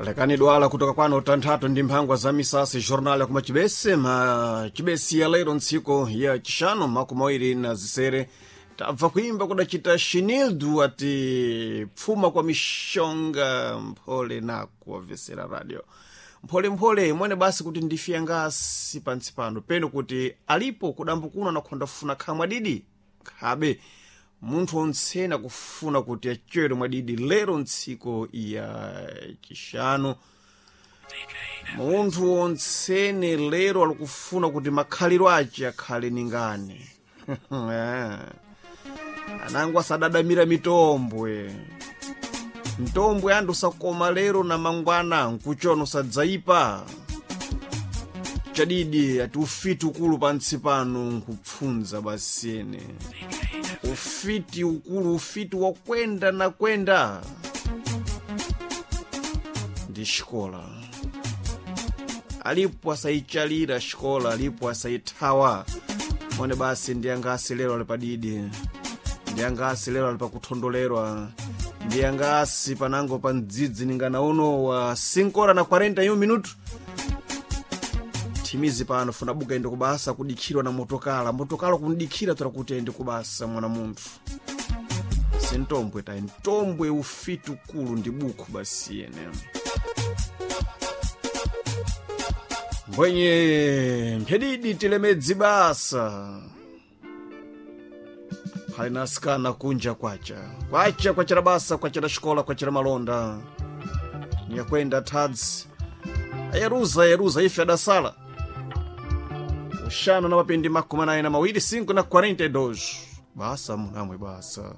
Lekani dwala kutoka kwano tanthatu ndi mphangwa za misasi jornal yakuma chibese ma chibesi ya lero ntsiku ya chishanu 26 tabva kuimba kudacita shinildu ati pfuma kwa mishonga mphole nakuwavesera radio mpholemphole mwene basi kuti ndifiya ngasi pantsi pano peno kuti alipo kudambukuna nakhonda funa khamwa didi khabe munthu ontsena kufuna kuti achere mwadidi lero ntsiku ya chishanu munthu ontsene lero alikufuna kuti makhaliro ace akhale ningane anango asadadamira mitombwe mtombwe andu usakoma lero na mangwana nkuchona usadzaipa chadidi ati ufiti ukulu pantsi pano nkupfunza basene ufiti ukulu ufiti wakwenda na kwenda ndi xikola alipo asayichalira xikola alipo asayithawa mone basi ndi angasi lero ali padidi ndi angasi lero ali pakuthondolerwa ndi angasi panango pa mdzidzi ningana uno wa 5 hora na 41 minuto thimizi pano funa buka ende kubasa kudikhirwa na motokala motokala kundikhira tora kuti ende kubasa mwana munthu sintombwe tayi ntombwe ufiti ukulu ndi bukhu basi ene mbwenye mphedidi tilemedzi basa phali na asikana kunja kwacha kwacha kwachera basa kwachera xikola kwachera malonda niyakwenda thadzi ayeruza ayeruza ife adasala uxano na mapindi 42 5 na 42 basa munamwe basa.